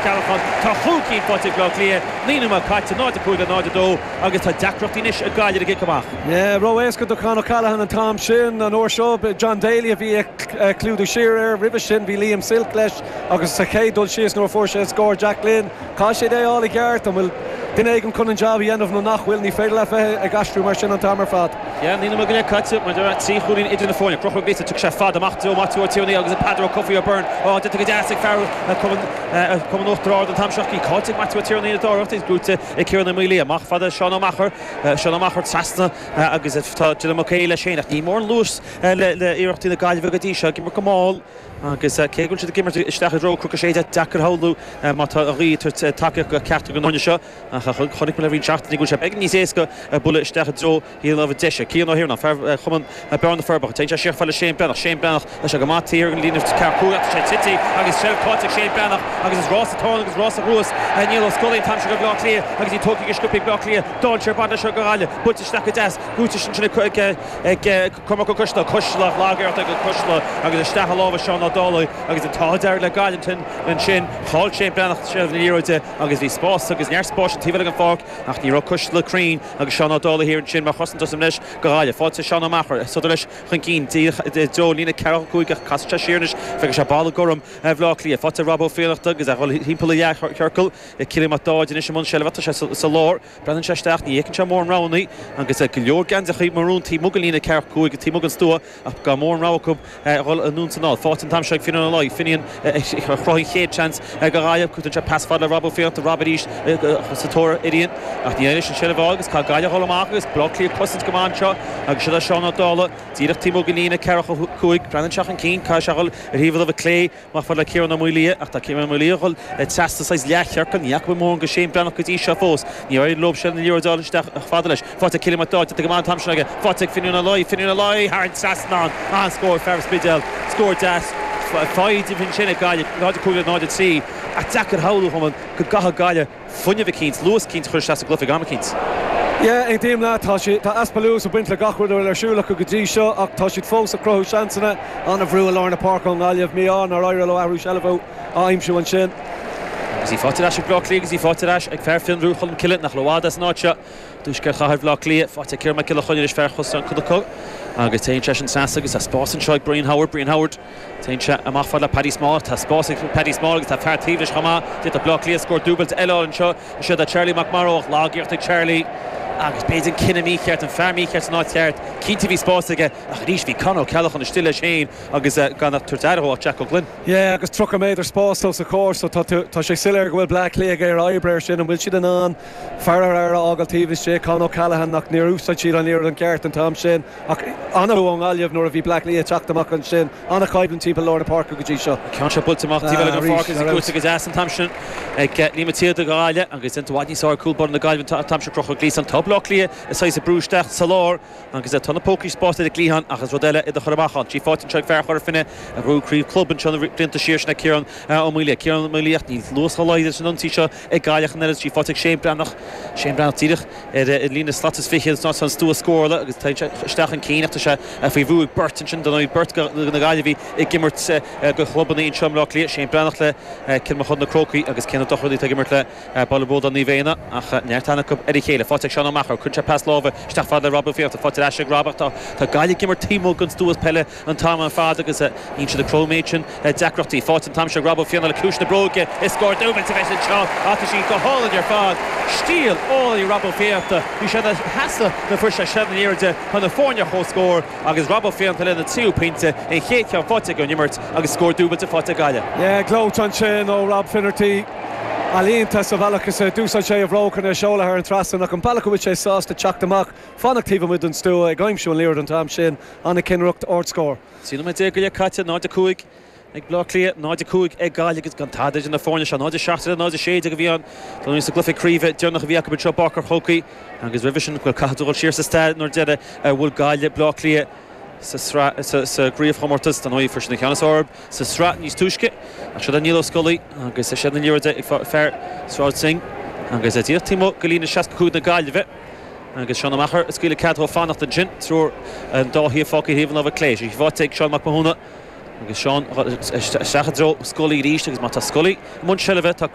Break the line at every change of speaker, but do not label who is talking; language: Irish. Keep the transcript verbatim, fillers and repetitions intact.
Con O'Callaghan tá chúl cinn faighte ag Bleá Cliath naoi nóiméad caite náid a cúig le náid a dó agus tá deacrachtaí anois ag Gaillimh ag amach.
Yeah, ró-éasca do Con O'Callaghan an t-am sin an uair seo John Daly a bhí ag clúdú siar air roimhe sin bhí Liam Silke leis agus sa chéad dul síos nuair fuair sé scór Jack Glynn. Tá sé é á i gceart an bhfuil duine éigin chun an job a dhéanamh nó nach bhfuil ní féidir le bheith ag aistriú mar sin an t-am ar fad.
Ja ní go le caite mar trí chúilín idir na foirne Croch Lisa tugann sé fad amach do Matthew Tierney agus Peadar Ó Cofaigh O'Byrne á go deas ag fear Cumann Uachtar Ard an t-am seo caillte Matthew Tierney na dáireachta grúte ag Ciarán Ó Maolaodha amach fada Seán Ó Meachair Seán Ó Meachair trasna agus tá Dylan McHale leis féin ach ní mór luas le iarrachtaí na Gaillimhe go dtí seo ag imirt go mall agus cé go bhfuil siad ag imirt isteach i dtreo Cnoc sé deacair shamhlú má tá a ghaoth tacaíocht go ceart go nóine seo ach chonaic le roinnt seachtainí go sé beag níos éasca bualadh isteach i dtreo híh deise Cian Ó hIarnáin fear chumann Bearna Forbacha Téann sé siar le Shane Breathnach Shane Breathnach leis go maith an líne ceú sé tite agus seilbh faighte ag Shane Breathnach agus is rás atá agus rás ruas Niall Ó Scolaí t-am seo go Bleá Cliath agus í tógtha go sciobtha Bleá Cliath Dá sé bad seo go Gaillimh buailte isteach go deas gúte sin ag ag Cormac Cuisle Cuisle lágéart ag Cuisle agus isteach a lámha Seán Ó Dálaigh agus an t-ádh le Gaillimh ansin chaill Shane Breathnach seilbh na liathróide agus bhí spás agus neart spáis an taobh an pháirc ach ní raibh Cuisle cruinn agus Seán Ó Dálaigh thiar ansin mar chosantas leis go Gaillimh faighte Seán Ó Meachair sodar leis chun cinn deo líne ceathair cúig cas sé siar anois fe sé balla gorm Bhleá Cliath faighte Rob Ó Fiannachta agus a dhul timpeall leathchiorcal Cillian Mac Dáid anois an seilbh sé sa lár Breathnaíonn sé isteach ní fheiceann sé mórán roghanna agus go leor geansaithe marún taobh amuigh den líne ceathair cúig taobh amuigh den stua ach gan mórán rogha acu dhul anonn san áil. Faighte an t-am seo ag Finian Ó Laoi Finian chruthaigh chéad chance go Gaillimh chuir sé pas fad le Rob Ó Fiannachta Rob arís sa tóir Irian ach ní leis an seilbh agus tá Gaillimh dhul amach agus Bleá Cliath cosaint go maith anseo agus siad Seán Ó Dála díreach taobh amuigh den líne ceathair cúig breathnaíonn sé chun cinn cá sé dhul ar thaobh a clé amach fad le Ciarán Ó Maolaodha ach tá Ciarán Ó Maolaodha dhul trasna saghas leathchiorcal ní fhaca mórán go Shane Breathnach go dtí seo fós ní raibh lob se na liathróid isteach fada leis faighte Cillian Mac Dáid go maith an t-am sin aige faighte Finian Ó Laoi Finian Ó Laoi thar an trasnán an scór fear Spidéal scór deas fáid fin sinna Gaillimh náid cúig náid trí a deacair shamhlú go gcaithfidh Gaillimh fuinneamh eicínt luas eicínt chur sa gcluiche am eicínt.
Yeah, aontaím leat tá si tá easpa luas ag baint le gach rud ar siúl acu go dtí seo ach tá siad fós ag cruthú seansanna an-bhrú i lár na páirce ón nGaillimh mí-ádh nár éirigh leo athrú seilbhe a aimsiú ansin.
Agus í faighte ag Bleá Cliath agus í faighte ag fear Fionnbhrú Cholm Cille nach bhfad as an áit seo. Tuaisceart chathair Bhleá Cliath faighte Ciarán Mac Giolla Chainnigh fear chos an chucu agus téann sé sin sas agus tá spás anseo ag Brian Howard Brian Howard Téann sé amach fad le Paddy Small tá spás ag Paddy Small agus tá fear taobh leis chomh maith Tá Bleá Cliath scór dúbailt eile anseo sé Charlie McMorrow lag-iarracht ag Charlie agus b'fhéidir an cinneadh mícheart an fear mícheart san áit cheart cinnte bhí spás aige ach arís bhí Con O'Callaghan istigh leis féin agus gan tabhairt aire Jack O'Glynn.
Yeah, agus tríocha méadar spás os a chomhair so tá sé soiléir go bhfuil Bleá Cliath ag oibriú sin an bhfuil siad an an fear ar a fhágáil taobh istigh Con O'Callaghan nach níor úsáid siad an liathróid an ceart an t-am sin ach an-bhrú ón nGaillimh nuair a bhí Bleá Cliath teacht amach ansin an-choimhlint timpeall lár na páirce go dtí seo.
Ceann seo buailte amach taobh an pháirc agus go deas an t-am sin ag Liam Tíad go Gaillimh agus in bhfad níos ár cúlbáire na Gaillimh an t-am seo Conchúr Gleeson tá Bleá Cliath is é brú isteach sa lár agus tá na pócaí spás idir cliathán agus rud eile idir chur amach an. Sí faighte seo fear Chora Finne a bhuaigh craobh club anseo na blianta siar sin Ciarán Ó Maolaodha. Ciarán Ó Maolaodha níl luas leid san ionsaí seo ag Gaillimh an eile sí faighte Shane Breathnach Shane Breathnach díreach ar an líne slat is fiche ná an stua scórála agus tá isteach an cíneach sé faoi bhrú ag beirt ansin don beirt na Gaillimhí ag imirt go chlubanna anseo Bleá Cliath Shane Breathnach le Cill Mochuda na Crócaigh agus Cian Ó Dochartaigh ag imirt le Baile Bróda Naomh Éanna ach neart acu ar a chéile faighte Seán Ó Meachair chun sé pas láimhe isteach fad le Rob Ó Fiannachta faighte ag Rob tá tá Gaillimh ag imirt taobh amuigh den stua peile an t-am ar fad agus níl siad ag cruthú méid sin deacrachtaí faighte an t-am seo Rob Ó Fianna le cúis na bróige is scór dúbailte a bheas anseo ach sí go hálainn ar fad stíl álainn Rob Ó Fiannachta bhí sé sheasamh na fuair sé seilbh na liathróide chun na foirne chomhscór agus Rob Ó Fiannachta lena tríú pointe an chéad cheann faighte ag an imirt agus scór dúbailte faighte Gaillimh.
Yeah, gleoite ansin ó Rob Finnerty. Ealaíonta sa bhealach is d'úsáid sé a bhróg chun é seoladh thar an trasnán ach an bealach go bhfuil sé sásta teacht amach fanacht taobh amuigh den stua ag aimsiú an liathróid an t-am sin an-chinnireacht ardscór.
Trí nóiméad déag go leith caite náid a cúig ag Bleá Cliath náid a cúig ag Gaillimh agus gan tada idir na foirne seo náid a seacht náid a sé déag a bhí an don sa gcluiche craoibhe deireanach a bhí acu seo Páirc an Chrócaigh agus roimhe sin bhfuil caithfidh dul siar sa stair nuair deireadh bhuail Gaillimh Bleá Cliath sa sa gcraobhchomórtas don fuair sin na ceannas orb sa sraith níos túisce ach seo Niall Ó Scolaí agus sé na liathróid ag fear Sráid Singh agus é díreach taobh amuigh go líne seasca cúig na Gaillimhe agus Seán Ó Meachair is scaoileadh cead dó fanacht ansin triúr an dá thaobh fágtha thaobh an láimhe clé sí faighte ag Seán Mac Mathúna agus Seán isteach i dtreo Scully arís agus má tá Scully i mbun seilbhe tá